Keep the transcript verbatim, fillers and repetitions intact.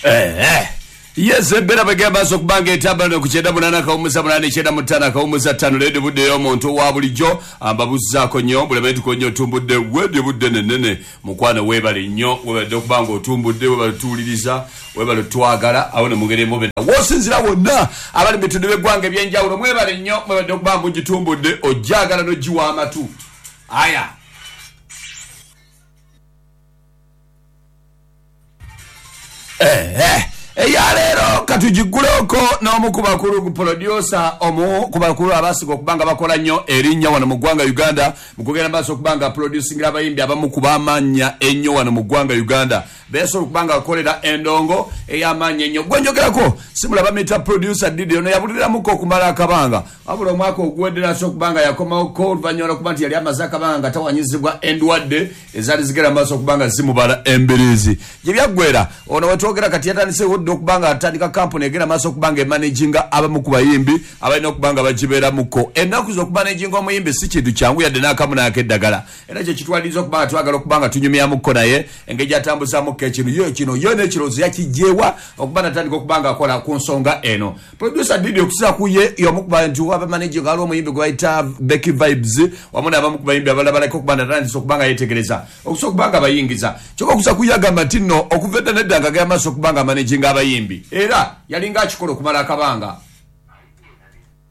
Eh, yes, embeera bwegenda maaso okubanga etambula ku kyenda munaana kawumuza munaana kyenda mu ttaano akawumuza ttaano. Leedi budde ey'omuntu wa bulijjo ambabuzaako nnyo bulemetuko nnyo otumbudde wedi budde nenene mukwano. Weebale nnyo, weebadde okuba nga otumbudde, weebale tuwuliriza, weebale twagala awo ne mugere mube wosinzira wonna abali mu bitundu by'eggwanga ebyenjawulo. Mwebale nnyo, mwebadde okuba nga mugitumbudde, ojjagala n'ogiwa amatu aya. Eh, eyaleero katugiguleko n'omu ku bakulu producer, omu ku bakulu abasiga okuba nga bakola nnyo erinnya wano mu ggwanga Uganda mu kugenda maaso okuba nga producingira abayimbi abamu ku b'amannya ennyo wano mu ggwanga Uganda, besobola okuba nga bakolera endongo ey'amaanyi ennyo. Gwe njogerako simulaba mita producer Didi. Ono yabuliramuko okumala akabanga, wabula omwaka oguwedde naso okuba nga yakomawoko oluvannyuma lwokuba nti yali amaze akabanga nga tawanyizibwa endwadde ezaali zigenda maaso okuba nga zimubala embiriizi. Gye byaggwera, ono wetwogera kati yatandise dda okuba nga atandika kampuni egenda maaso okuba nga emanaginga abamu ku bayimbi abalina okuba nga bagibeeramuko. Ennaku z'okumanaginga omuyimbi si kintu kyangu yadde n'akamu n'akeddagala, era kye kitwaliriza okuba nga twagala okuba nga tunyumyamukko naye engeri gyatambuzamukko ekintu yo kino yo n'ekirowoozo yakijjeewa okuba natandika okuba nga akola ku nsonga eno. Producer Didi, okusinza ku ye, y'omu ku bantu abamanaginga waliwo omuyimbi gwe bayita Becky Vibes wamu n'abamu ku bayimbi abalala baleka okuba natandise okuba nga yeetegereza okusobola okuba nga bayingiza. Kyokka okusa ku ye agamba nti nno okuva edda nedda nga agenda maaso okuba nga amanaginga abayimbi, era yalinga akikola okumala akabanga.